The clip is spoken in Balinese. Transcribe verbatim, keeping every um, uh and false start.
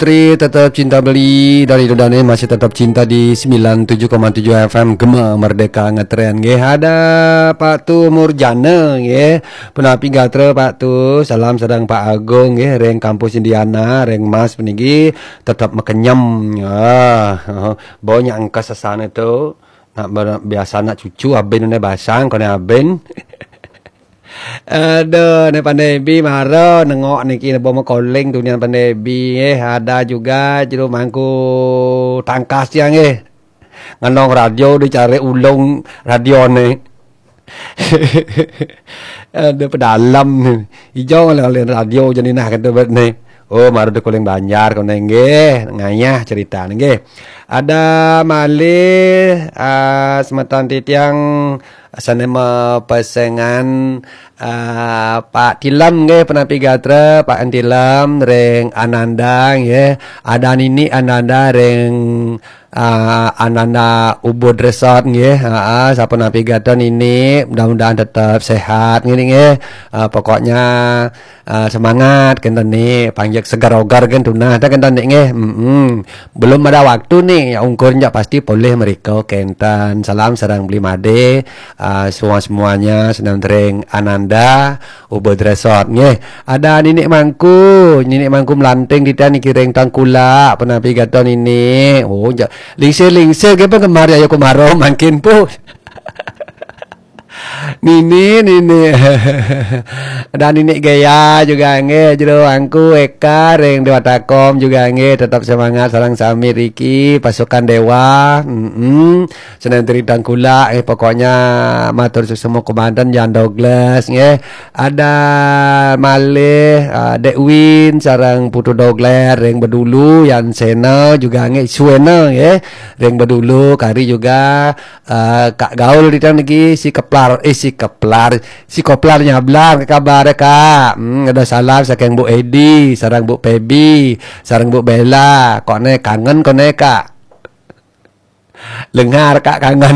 Tri tetap cinta beli dari Dodane masih tetap cinta di sembilan tujuh koma tujuh F M Gema Merdeka Ngetren nggih. Ada Pak Tu Murjana nggih. Punapi gatra Pak Tu, salam sedang Pak Agung nggih ring kampus Indiana, ring Mas puniki tetap makenyem. Ah, banyak engkas sesana tu. Nak ber- biasa nak cucu abin ne basang kone abin. Aduh, ne pandai bi mara nengok niki ne boma koling tu nian pandai bi eh ada juga jero mangku tangkas tiang eh. Ngenong radio dicari ulung radio ne. Ada pedalam ni. Ijau ngalen radio jani nah kata bet ni. Oh, maru de kuling Banjar kau nengge ngayah cerita nengge. Ada malih ah, semeton titiang sanema pesengan ah, Pak Tilem nggih penapi gatra Pak Tilem ring Ananda nggih. Ada nini Ananda ring ah, Ananda Ubud Resort nggih. Ha, sapunapi gatra nini mudah-mudahan tetap sehat nggih nggih. Ah, pokoknya ah, semangat kenten ni panjak segar ogar kan tunah ta kenten ni nggih. Mm-mm. Belum ada waktu ni ya ungkur nyak pasti polih mereka kenten. Salam sareng beli made ah, semua-semuanya senam tering Ananda Ubud Resort nggih. Ada Ninik Mangku, Ninik Mangku melanting di tian kiring tangkula penapi gata Ninik. Oh, ja, lingsir-lingsir ke penggemar ya Kumaro makin pu. Nini, nini. Dan Ninik Gaya juga nggih, jero angku Eka ring Dewata Kom juga nggih, tetap semangat sareng sami riki pasukan Dewa. Mm-mm. Senentri Tangkula eh pokoknya matur suksma komandan Jan Douglas nggih. Ada malih ah, Dek Win sareng Putu Dogler ring Bedulu Yan Sena juga nggih Suena nggih ring Bedulu kari juga ah, Kak Gaul di lagi si Keplar eh si Keplar si Koplar Nyablar ke kabar Kak. Hmm, ada salam saking Bu Edi, sareng Bu Pebi, sareng Bu Bella. Kok ne kangen kok ne Kak. Lengar Kak kangen.